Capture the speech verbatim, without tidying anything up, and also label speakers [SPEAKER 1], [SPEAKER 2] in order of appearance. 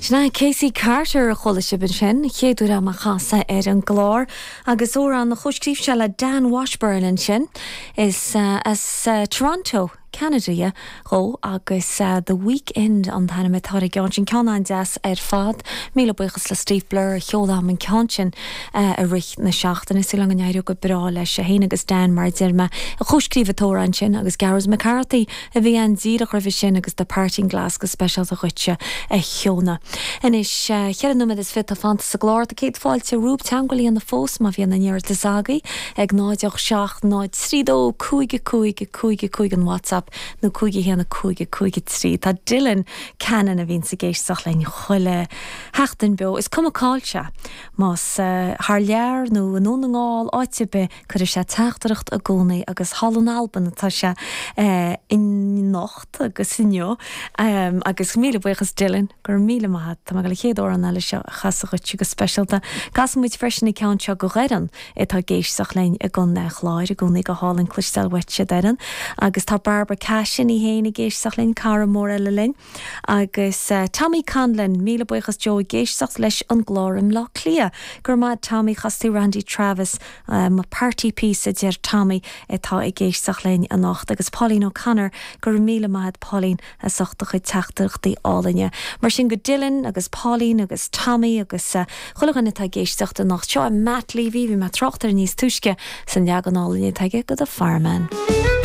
[SPEAKER 1] Sin é Casey Carter a chuala sibh ansin, chéad uair agam á chasadh ar an gclár, agus amhrán a chomhscríobh sé le Dan Washburn ansin is uh, as uh, Toronto. Canada dhó agus uh, The Weekend an t-ainm atá ar an gceann sin ceann an-deas ar fad. Míle buíochas le Steve Blur a sheol agam an ceann sin uh, i rith na seachtaine súil go n-éireoidh go breá leis é féin agus Dan mar deir mé a chomhscríobh an t-amhrán sin agus Gareth McCarthy a bhí an díreach roimhe sin agus The Parting Glass go speisialta dhuitse a Shióna. Anois ceithre nóiméad is fiche fanta sa gclár tá céad fáilte romhaibh teagmháil a dhéanamh fós má bhíonn aon iarratas agaibh ag náid seacht náid trí dó cúig cúig cúig cúig an WhatsApp nó cúig haon cúig cúig trí Tá Dylan Cannon a bhíonn ag éisteacht linn chuile sheachtain beo is cuma cá bhfuil sé más uh, thar lear nó i nDún na nGall áit ar bith cuireann sé teachtaireacht i gcónaí agus thall in Albain atá sé uh, anocht agus inniu um, agus míle buíochas Dylan gur míle maith Tá go le chéad an eile seo chasachuit go speisialta. Casfaidh muid freisin an ceann seo go Dhoireann atá ag éisteacht linn i gContae an Chláir i gcónaí go hálainn cloisteáil uaitse Doireann, agus tá Barbara Cashin í féin ag éisteacht linn cara mór eile linn. agus uh, Tommy Conlon míle buíochas Joe ag éisteacht leis an gclár i mBleá Cliath. Gur maith Tommy chas tú Randy Travis um, party piece a deir Tommy atá ag éisteacht linn anocht agus Pauline O'Connor gur míle maith Pauline as ucht do chuid teachtaireachtaí álainne. Mar sin go Dylan agus Pauline agus Tommy agus uh, chuile dhuine atá ag éisteacht anocht seo Matt Levy bhí mé ag trácht air níos túisce san leagan álainn atá aige go The Fireman.